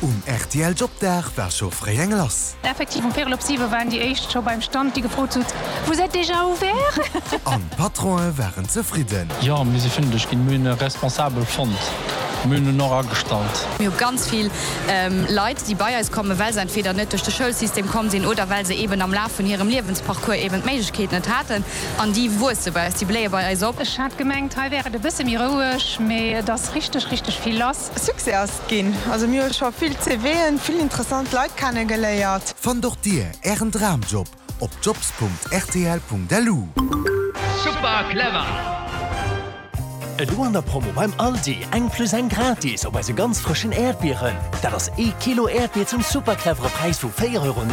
Um rtl Jobdag war scho fréi eng lass. Effektiv, um véierel op siwe waren déi éischt scho beim Stand, déi gefrot hutt, Vous êtes déjà ouvert? An d'Patronen waren zefridden. Jo, mir si fündeg ginn. Mir hunn e Responsabel fonnt. Mir hunn en och agestallt. Mir hu ganz vill Leit, déi bei eis kommen, well se entweder net duerch de Schoulsystem komm sinn oder well se eeben am Laf vun hirem Liewensparcours eeben d'Méiglechkeet net haten. An déi wuesse bei eis, déi bléie bei eis op. Ech hat gemengt, hei wär et e bësse méi roueg, mee et ass richteg, richteg vill lass. Succès ass et ginn. Also mir hu scho vill CVen, vill interessant Leit kenne geléiert. Fannt och dir ären Dramjob op jobs.rtl.lu. Super clever! Elo an der Promo beim Aldi, eng plus eng gratis op eise ganz frëschen Äerdbieren. Dat ass ee Kilo Äerdbier zum super clevere Präis vu 4,99 Euro.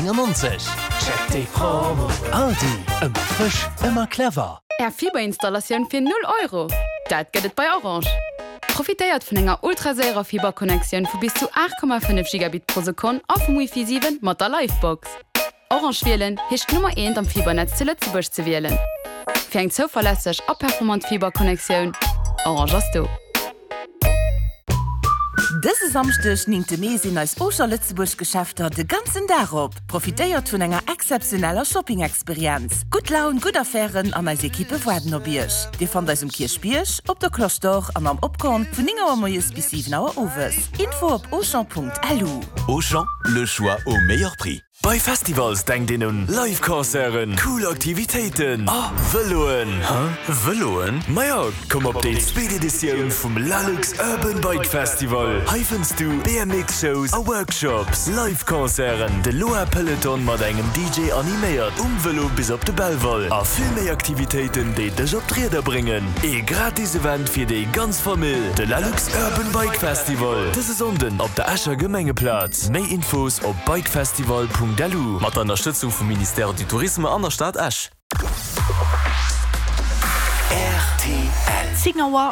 Check déi Promo! Aldi, ëmmer frësch, ëmmer clever! Är Fiberinstallatioun fir 0 Euro! Dat gëtt et bei Orange! Profitéiert vun enger ultraséierer Fiberconnectioun vu bis zu 8,5 Gigabit pro Sekonn a vum Wifi 7 mat der Livebox. Orange wielen heescht d'Nummer eent am Fibernetz zu Lëtzebuerg ze wielen. Fir eng zouverlässeg a performant Fiberconnectioun, Orange ass do! Dëse Samschdeg, 9 Mee, sinn eis Auchan Lëtzebuerg Geschäfter de ganzen Dag op. Profitéiert vun enger exzeptioneller Shopping-Experienz. Gutt Laun, gutt Affären an eis Ekippe waarden op Iech. Dir fannt eis um Kierchbierg, op der Cloche d'Or an am Opkorn vun 9 Auer moies bis 7 Auer owes. Info op auchan.lu. Auchan, le choix au meilleur prix. Bei Festivals denkt een un Live Concerten, cool Aktivitéiten a Vëloen. Hä? Vëloen? Maja, komm op déi zweet Editioun vum Lalux Urban Bike Festival. Hei fënns du BMX Shows a Workshops, Live Concerten, de Loa Peloton mat engem DJ animéiert um Vëlo bis op de Belval a vill méi Aktivitéiten déi dech op d'Rieder bréngen. Ee gratis Event fir déi ganz Famill, de Lalux Urban Bike Festival, dëse Sonnden op der Escher Gemengeplaz. Méi Infos op bikefestival.lu. Mat der Ënnerstëtzung vum Ministère du Tourisme an der Stad Esch. Rtl. 10 Auer.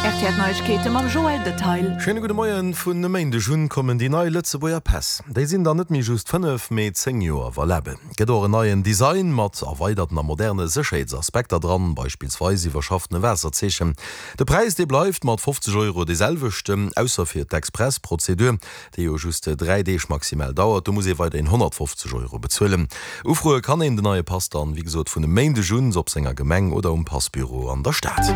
RTL Neiegkeete mam Joël Detail. Schéine gudde Moien. Vun e Méindeg un kommen déi nei Lëtzebuerger Päss. Déi sinn dann net méi just 5, mee 10 Joer valabel. Gëtt och en neien Design mat erweiderten a moderne Sécherheetsaspekter dran, beispillsweis iwwerschaffene Waasserzeechen. De Präis, dee bleift mat 50 Euro dee selwechten, ausser fir d'Express-Prozedur. déi jo just 3 Deeg maximal dauert, do muss ee weiderhin 150 Euro bezuelen. Ufroe kann een den neie Pass dann, wéi gesot, vun e Méindeg un op senger Gemeng oder um Passbüro an der Stad.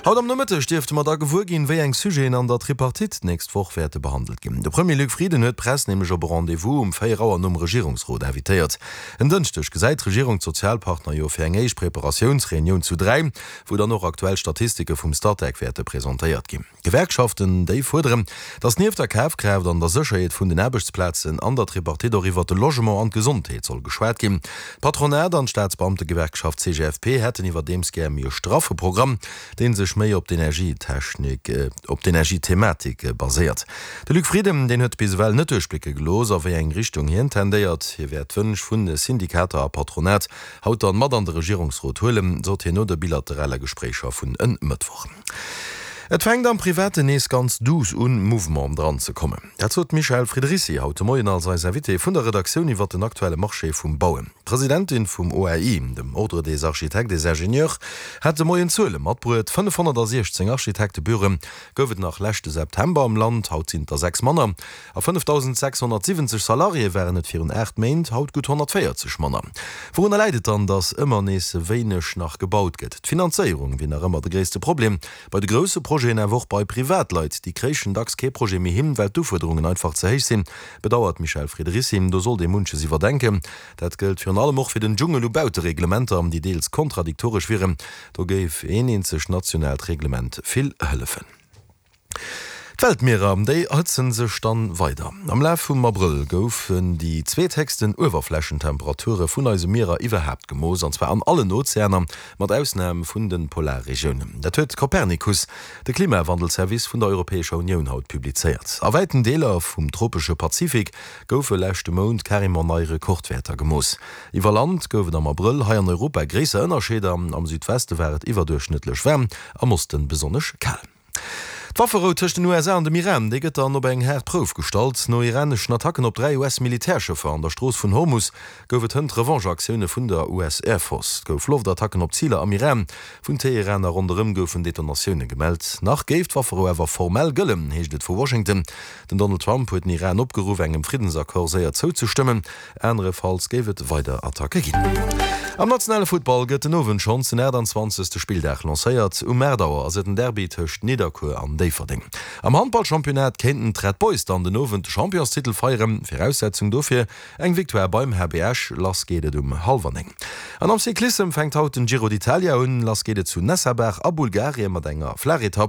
Haut am Nomëtteg dierfte mer da gewuer ginn, wéi eng Sujeten an der Tripartite d'nächst Woch wäerte behandelt ginn. De Premier Luc Frieden huet d'Press nämlech op e Rendez-vous um 4 Auer nom Regierungsrot invitéiert. En Dënschdeg gesäit d'Regierung d'Sozialpartner jo fir eng éischt Preparatiounsreunioun zu 3, wou dann och aktuell Statistike vum Statec wäerte presentéiert ginn. D'Gewerkschaften, déi fuerderen, datt nieft der Kafkraaft an der Sécherheet vun den Aarbechtsplazen an der Tripartite och iwwert de Logement an d'Gesondheet soll geschwat ginn. D'Patronat an d'Staatsbeamtegewerkschaft CGFP hätten iwwerdeems gär méi e straffe Programm, dee sech méi op d'Energietechnik, op d'Energiethematik baséiert. De Luc Frieden, deen huet bis ewell net duerchblécke gelooss, a wéi eng Richtung hien tendéiert. Hie wäert d'Wënsch vu Syndikater a Patronat haut dann mat an de Regierungsrot huelen, sot hien no de bilaterale Gespréicher vun en Mëttwoch. Et fänkt am Privaten nees ganz duuss un, Mouvement dran ze kommen. Dat sot d'Michèle Friederici haut de Moien als eis Invitée vun der Redaktioun iwwer den aktuelle Marché vum Bauen. D'Presidentin vum OAI, dem Ordre des Architectes et Ingénieurs, hat de Moien Zuele matbruet, 516 Architektebüroe gouf et nach leschte September am Land, haut sinn et der 6 manner. A 5.670 Salariéë waren et virun 8 Méint, haut gutt 140 manner. Wourunner läit et dann, datt ëmmer nees wéineg nach gebaut gëtt? D'Finanzéierung wier nach ëmmer de gréisste Problem. Bei de grousse Projeten, awer och bei Privatleit. Déi kréichen dacks kee Projet méi hin, well d'Ufuerderungen einfach ze héich sinn, bedauert d'Michèle Friederici. Do sollt ee munches iwwerdenken. Dat gëllt virun allem och fir den Dschungel u Bautereglementer, déi deels kontradiktoresch wieren. Do géif een eenzegt nationaalt Reglement vill hëllefen. D'Weltmierer, déi erhëtzen sech dann weider. Am Laf vum Abrëll goufen déi zweethéchsten Uewerflächentemperature vun eise Mierer iwwerhaapt gemooss, an zwar an allen Ozeaner, mat Ausnam vun de Polarregiounen. Dat huet Copernicus, de Klimawandelservice vun der Europäescher Unioun, haut publizéiert. A wäiten Deeler vum tropesche Pazifik goufe leschte Mount carrément nei Rekordwäerter gemooss. Iwwer Land gouf et am Abrëll hei an Europa gréisser Ënnerscheeder, am Südweste war et iwwerduerchschnëttlech waarm, am Oste besonnesch kal. D'Wafferou tëscht den USA an dem Iran, déi gëtt dann op eng haart Prouf gestallt. No iraneschen Attacken op 3 US-Militärschëffer an der Strooss vun Hormus gouf et hënt Revanche-Aktioune vun der US Air Force. Et gouf Loftattacken op Ziler am Iran. Vun Teheran a ronderëm goufen Detonatioune gemellt. Nach géif d'Wafferou awer formell gëllen, heescht et vu Washington. Den Donald Trump huet den Iran opgeruff, engem Friddensaccord séier zouzestëmmen. Anerefalls géif et weider Attacke ginn. Am nationale Futtball gëtt den Owend schonns den 28. Spilldag lancéiert. Um 8 Auer ass et den Derby tëscht Nidderkuer an Déifferdeng. Am Handballchampionnat kéinten d'Red Boys dann den Owend de Championstitel feieren. Viraussetzung dofir eng Victoire beim HB Esch. Lass geet et um hallwer 9. An am Cyclissem fänkt haut den Giro d'Italia un. Lass geet et zu Nessebar a Bulgarien mat enger Flaachetapp.